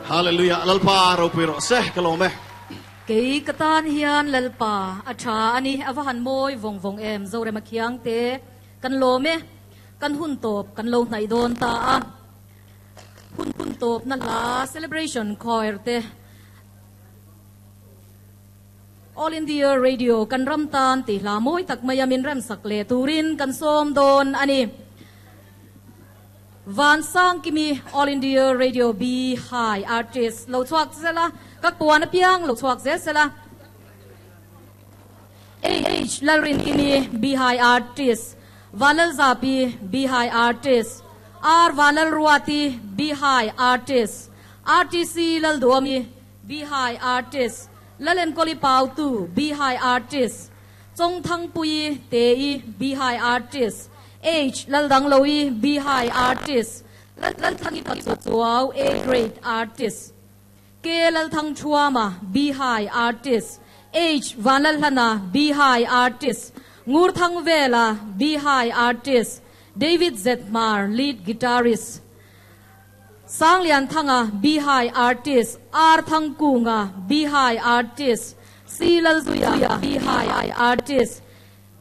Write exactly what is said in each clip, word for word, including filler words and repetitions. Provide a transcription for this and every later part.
Hallelujah. Lalpa ropui rawh se ka lawm e. Kei ka tan hian Lalpa a tha ani a va han mawi vawng vawng em Zorema khiang te kan lawm e kan hun tawp kan lo hnaih dawn ta a hun hun tawp na hla celebration choir te All India Radio kan ram tan tih hla mawi tak mai a min rem sak leh turin kan sawm dawn ani. Van Sang Kimi All India Radio B High Artist lo chhuak zela ka puan apiang lo chhuak zel sela H Lalrin Kimi B High Artist Vanlal Zapi B High Artist R Vanlal Ruati B High Artist R T C Lalduami B High Artist Lalen Koli Pautu B High Artist Chong Thang Pui Te I B High Artist H Laldang Loi B High Artist Lal Lal Thangi Pachuau A Grade Artist K Lal Thang Chuama B High Artist H Vanlal Hlana B High Artist Ngur Thang Vela B High Artist David Zetmar Lead Guitarist Sang Lian Thanga B High Artist R Thang Kunga B High Artist C Lal Zuya B High Artist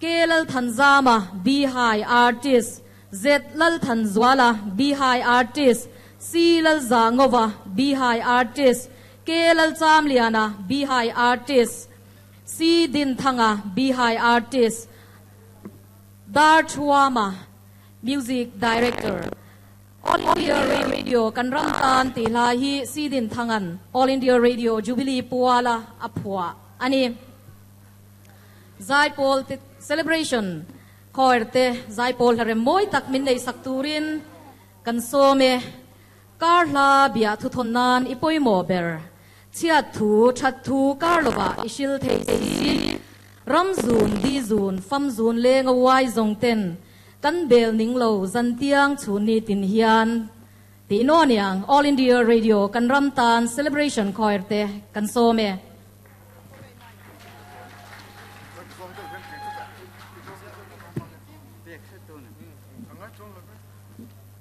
K Lal Thanzama B High Artist Z Lal Thanzuala B High Artist C Lal Zangova B High Artist K Lal Chamliana B High Artist C Din Thanga B High Artist Dar Chuama Music Director All India Radio kan ram tan ti hla hi C Din Thangan All India Radio Jubilee Puala Aphua ani Zaipol te celebration choir te Zaipol hare moi tak min nei sak turin kan some kar hla bia thu thon nan ipoi mo ber chiat thu that thu kar lova isil thei si ram zun di zun fam zun leng a wai zong ten kan bel ning lo zan tiang chu ni tin hian ti no niang All India Radio kan ram tan celebration choir te kan some.